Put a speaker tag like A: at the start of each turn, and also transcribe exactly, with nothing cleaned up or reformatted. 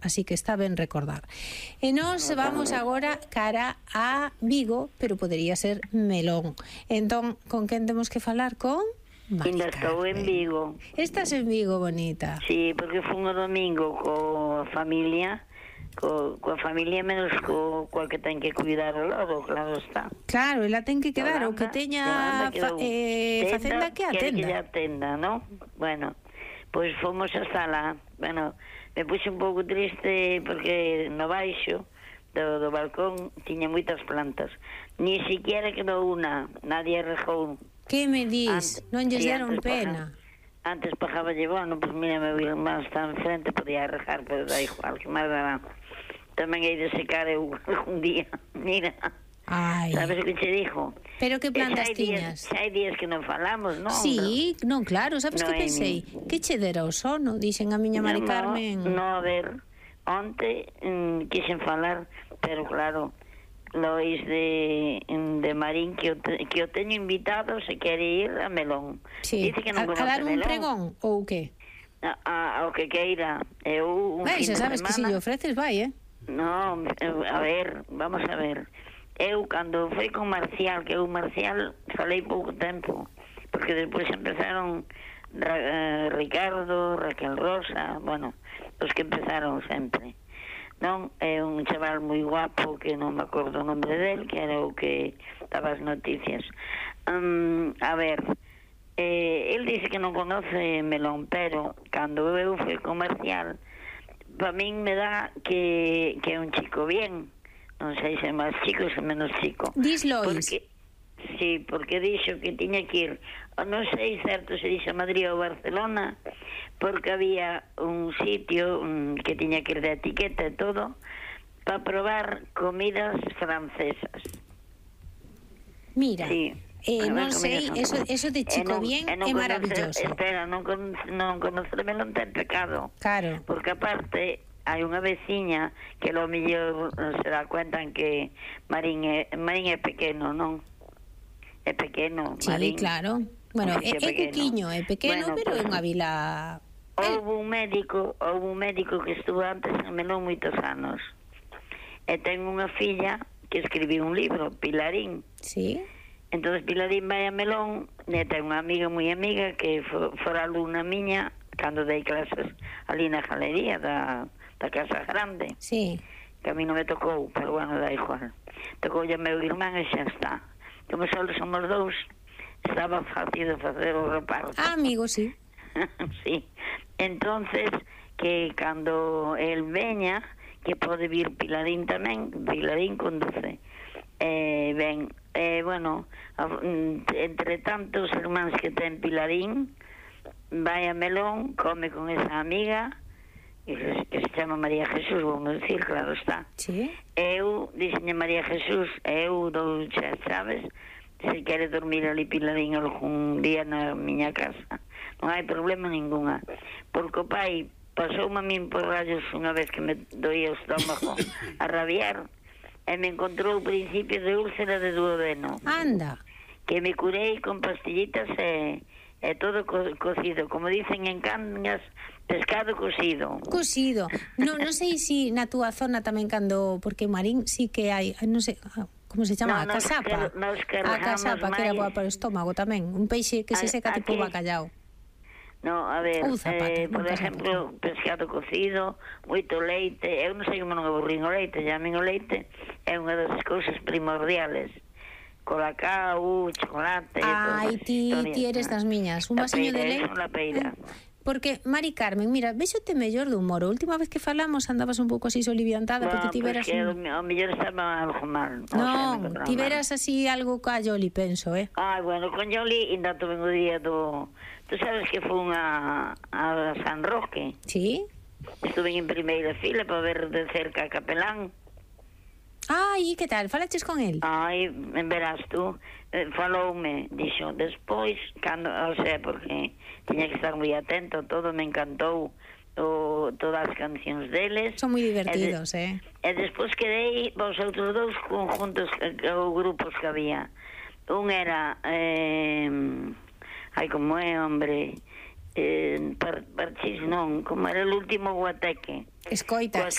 A: así que está ben recordar. E nós vamos agora cara a Vigo, pero podería ser Melón. Entón, con quen temos que falar? Con Mari
B: Ainda estou en Vigo.
A: Estás en Vigo, bonita?
B: Sí, porque fun o domingo coa familia, co, coa familia menos co, coa que ten que cuidar o lobo, claro está.
A: Claro, ela ten que quedar, o que teña fa, eh, facenda que atenda.
B: Que atenda, ¿no? Bueno, pois pues fomos hasta lá. Bueno, me puse un pouco triste porque no baixo do, do balcón tiña moitas plantas. Ni siquiera quedou unha, nadie regou.
A: Que me dis? Ant, non lles deron
B: sí,
A: pena?
B: Paja, antes pajaba lle, bueno, pues mira, meu irmán está enfrente, podía rejar, pero da igual, que máis dará. Tamén hei de secar eu algún día, mira.
A: Ai.
B: Sabes o que che dixo?
A: Pero que plantas tiñas?
B: Xa hai días que non falamos, non?
A: Sí, non, claro, sabes
B: no,
A: que pensei? Mi... Que che dera o sono, dixen a miña Mari
B: no,
A: Carmen.
B: No, a ver, onte mm, quixen falar, pero claro, Lois de, de Marín, que o, te, que o teño invitado, se quere ir a Melón.
A: Sí.
B: Dice que non
A: a, a dar un
B: Melón.
A: pregón, ou que?
B: A, a, ao que queira. Eu, un
A: vai,
B: fin
A: xa sabes
B: semana,
A: que se lle ofreces, vai, eh?
B: No, a ver, vamos a ver. Eu, cando foi con Marcial, que eu Marcial falei pouco tempo, porque despois empezaron Ra, eh, Ricardo, Raquel Rosa, bueno, os que empezaron sempre. Non, é un chaval moi guapo que non me acordo o nombre del, que era o que daba as noticias. Um, a ver, eh, el dice que non conoce Melón, pero cando eu fui comercial, para min me dá que, que é un chico bien, non sei se é máis chico ou se menos chico.
A: Dis Lois.
B: Porque, sí, porque dixo que tiña que ir, non sei certo se dixo a Madrid ou Barcelona, porque había un sitio um, que tiña que ir de etiqueta e todo para probar comidas francesas.
A: Mira,
B: sí.
A: eh, non sei, eso, eso de chico non, bien é maravilloso.
B: Espera, non, con, non conocerme non ten pecado.
A: Claro.
B: Porque aparte hai unha veciña que lo mellor se dá cuenta en que Marín é, Marín é pequeno, non? É pequeno,
A: sí,
B: Marín.
A: Sí, claro. Bueno, é, é cuquiño, é pequeno, bueno, pero é unha vila...
B: Houve un médico, houve un médico que estuvo antes en Melón moitos anos. E ten unha filla que escribiu un libro, Pilarín.
A: Sí.
B: Entonces Pilarín vai a Melón, e ten unha amiga moi amiga que for, fora alumna miña cando dei clases ali na galería da, da Casa Grande.
A: Sí.
B: Que a mí non me tocou, pero bueno, da igual. Tocou a meu irmán e xa está. Como só somos dous, estaba fácil de facer o reparto.
A: Ah, amigo, sí.
B: Sí. Entonces, que cando el veña, que pode vir Pilarín tamén, Pilarín conduce. Eh, ben, eh, bueno, entre tantos irmáns que ten Pilarín, vai a Melón, come con esa amiga, que se chama María Jesús, vamos decir, claro está.
A: Sí.
B: Eu, dixenlle María Jesús, eu dou xa, sabes, se quere dormir ali Pilarín algún día na miña casa, non hai problema ninguna, porque o pai pasoume a min por rayos unha vez que me doía o estómago a rabiar, e me encontrou o principio de úlcera de duodeno.
A: Anda.
B: Que me curei con pastillitas e, e todo co, cocido, como dicen en Cangas, pescado cocido.
A: Cocido. Non non sei se si na túa zona tamén cando, porque Marín sí que hai, non sei, como se chama?
B: No,
A: a casapa.
B: Nos que,
A: a
B: nos
A: casapa, que era boa para o estómago tamén. Un peixe que se seca tipo bacallau.
B: No, a ver,
A: zapata,
B: eh, por exemplo, zapata. Pescado cocido, moito leite. Eu non sei como non aburrín o leite, ya a min o leite é unha das cousas primordiales. Colacao, chocolate...
A: Ai, ti, ti eres das miñas. Un vasiño de leite...
B: La peira.
A: Porque, Mari Carmen, mira, vexote mellor de humor. A última vez que falamos andabas un pouco así soliviantada,
B: no,
A: porque ti veras...
B: Porque
A: un...
B: o mellor estaba algo mal.
A: Non, no, ti veras así algo ca Yoli, penso, eh?
B: Ai, bueno, con Yoli ainda tuve o día do... Tú sabes que fun a, a San Roque?
A: Sí.
B: Estuve en primeira fila para ver de cerca a capelán.
A: Ai, que tal? Falaches con el?
B: Ai, verás tú, eh, faloume, dixo, despois, cando, o sea, porque tiña que estar moi atento, todo me encantou, o, todas as cancións deles.
A: Son moi divertidos,
B: e de,
A: eh?
B: E despois quedei vos outros dous conjuntos, ou grupos que había. Un era, eh, ai, como é, hombre, Eh, par, parchís non, como era el último guateque.
A: Escoitas.